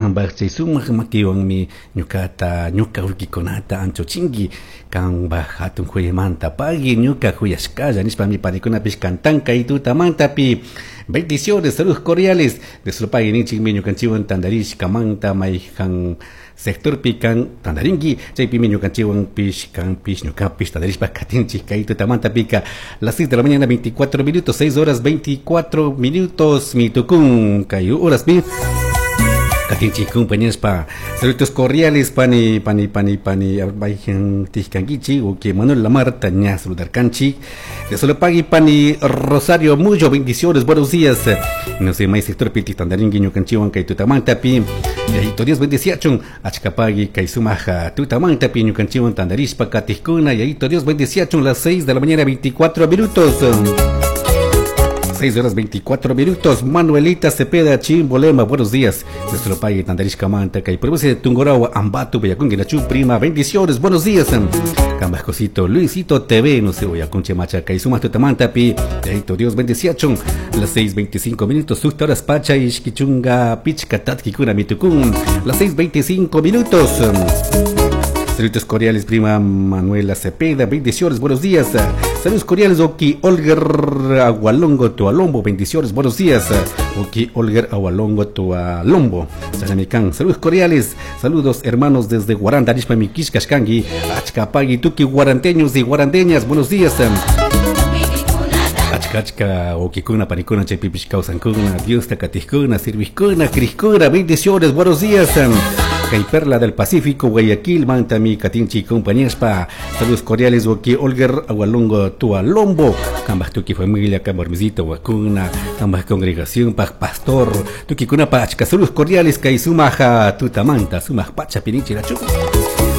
Cambaj chay sumak makiwanmi ñukata, ñuka ullkikunata anchuchinki. Cambaj hatun huyaymanta pagui ñuka huyashkalla nishpami panikunapish cantan kay tutamantapi. Bendiciones, saludos cordiales. De solo pagui ninchikmi ñukanchikwan tantarishkamanta mayjan sectorpi kan tantarinki, chaypimi ñukanchikwanpish kanpish ñukapish tantarishpa katinchik kay tutamantapika. Las 6 de la mañana 24 minutos, 6 horas 24 minutos mitukun kay horaspi. Katinchik compañeros. Saludos cordiales pani pani pani pani mayjan tijkankichik uki Manuel Lamarta ña saludarkanchik. De solo pagui pani Rosario Muyo, bendiciones, buenos días. No sé, may sector piti tandaringi ñukanchiwan kay tutamantapi. Yayito Dios bendeciachun, achkapagui kay sumaja tutamantapi ñukanchiwan tandarishpa katijkuna. Yayito Dios bendeciachun, las 6 de la mañana 24 minutos. 6 horas 24 minutos. Manuelita Cepeda Chimbolema, buenos días. Nuestro país Tandarishkamanta, kay provincia de Tungurahua, Ambato, Bellaconguinachu, prima, bendiciones, buenos días. Cambascosito, Luisito TV, no sé, voy a Conche Machaca y sumas Tutamantapi, Yayito Dios bendeciachun. Las 6:25 minutos, Sukta horas Pacha, Ishkichunga, Pichka, Tatkikuna, Mitukun. Las 6:25 minutos. Saludos cordiales, prima Manuela Cepeda, bendiciones, buenos días. Saludos cordiales, Oki Olger Agualongo Tualombo, bendiciones, buenos días. Oki Olger Agualongo Tualombo, Salamicán, saludos cordiales, saludos hermanos desde Guaranda, Arispa Mikishkashkangi, Achkapagui, Tuki, guaranteños y guarandeñas, buenos días. Achka achka okikuna panikuna chaypipish kawsankuna, Diosta katijkuna, sirvijkuna, crijkuna, bendiciones, buenos días. Kay Perla del Pacífico, Guayaquil, Mantami, Katinchi, compañíaspa. Saludos cordiales, Oki Olger, Agualongo, Tualombo, Kambaj tuki familia, Kambarmisito, Wakuna, Kambaj congregación, Paj Pastor, Tuki Kunapa, achka, saludos cordiales, Kay Sumaja, Tutamanta, Sumaj Pacha, Pinichi, Lachu.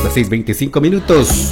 Las 6:25 minutos.